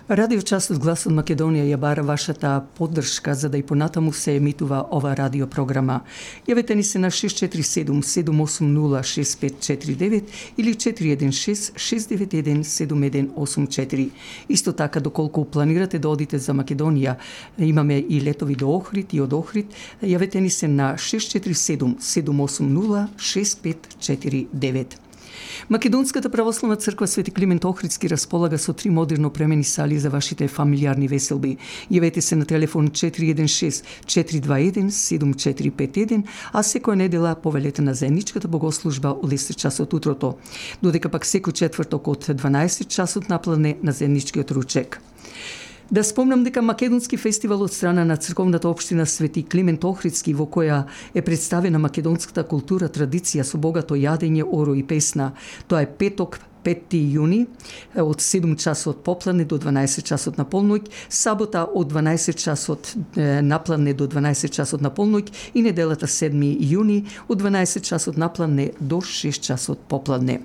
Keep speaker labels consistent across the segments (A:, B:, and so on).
A: Радиочасот Глас од Македонија ја бара вашата поддршка за да и понатаму се емитува ова радиопрограма. Јавете ни се на 647-780-6549 или 416-691-7184. Исто така, доколку планирате да одите за Македонија, имаме и летови до Охрид и од Охрид, јавете ни се на 647-780-6549. Македонската православна црква Свети Климент Охридски располага со 3 модерно опремени сали за вашите фамилиарни веселби. Јавете се на телефон 416-421-7451, а секоја недела повелете на заедничката богослужба од 10 часот утрото, додека пак секој четврток од 12 часот напладне на заедничкиот ручек. Да спомнам дека Македонски фестивал од страна на црковната општина Свети Климент Охридски, во која е представена македонската култура, традиција со богато јадење, оро и песна. Тоа е петок, 5 јуни, од 7 часот попладне до 12 часот на полноќ, сабота од 12 часот напладне до 12 часот на полноќ и неделата 7 јуни од 12 часот напладне до 6 часот попладне.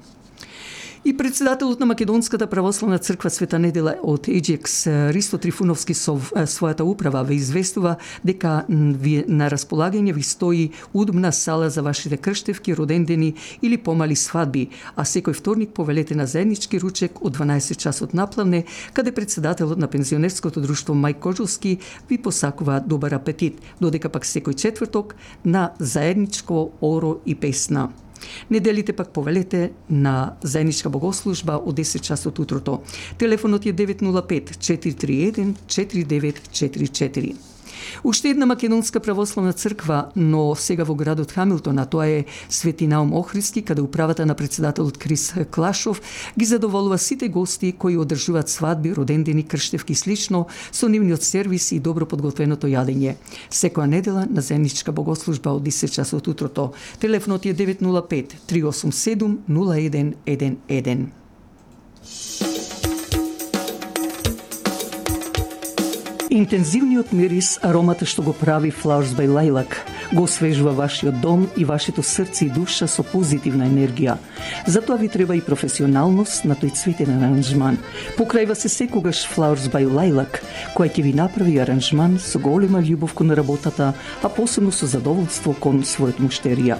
A: И председателот на Македонската православна црква Света недела од Еџекс, Ристо Трифуновски, со својата управа ве известува дека на располагање ви стои удобна сала за вашите крштевки, родендени или помали свадби, а секој вторник повелете на заеднички ручек од 12 часот напладне, каде председателот на пензионерското друштво Мај Кожовски ви посакува добар апетит, додека пак секој четврток на заедничко оро и песна. Неделите пак повелете на заедничка богослужба од 10 часот утрото. Телефонот е 905-431-4944. Уште една македонска православна црква, но сега во градот Хамилтон, а тоа е Свети Наум Охридски, каде управата на председателот Крис Клашов ги задоволува сите гости кои одржуваат свадби, родендени, крштевки и слично, со нивниот сервис и добро подготвеното јадење. Секоја недела на заедничка богослужба од 10 часот утрото. Телефонот е 905-387-0111. Интензивниот мирис, аромата што го прави Flowers by Lilac, го освежува вашиот дом и вашето срце и душа со позитивна енергија. Затоа ви треба и професионалност на тој цветен аранжман. Покрајва се секогаш Flowers by Lilac, која ќе ви направи аранжман со голема љубов кон работата, а посебно со задоволство кон својот муштерија.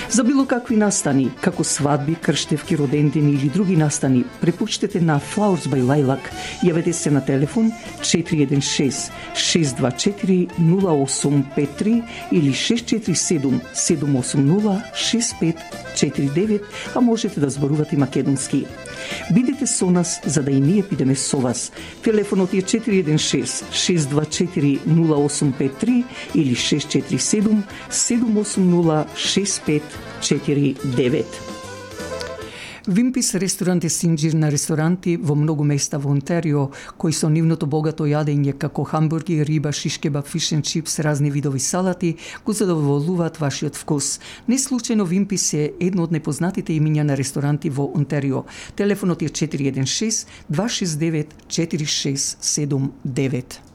A: За било какви настани, како свадби, крштевки, родендени или други настани, препуштете на Flowers by Lilac. Јавете се на телефон 416-624-0853 или 647-780-6549, а можете да зборувате македонски. Бидете со нас за да и ние бидеме со вас. Телефонот е 416-624-0853 или 647-780-6549. Вимпис ресторант е синџир на ресторанти во многу места во Онтарио, кои со нивното богато јадење како хамбурги, риба, шиш кебаб, фиш енд чипс, разни видови салати, го задоволуваат вашиот вкус. Не случајно Вимпис е едно од непознатите имиња на ресторанти во Онтарио. Телефонот е 416-269-4679.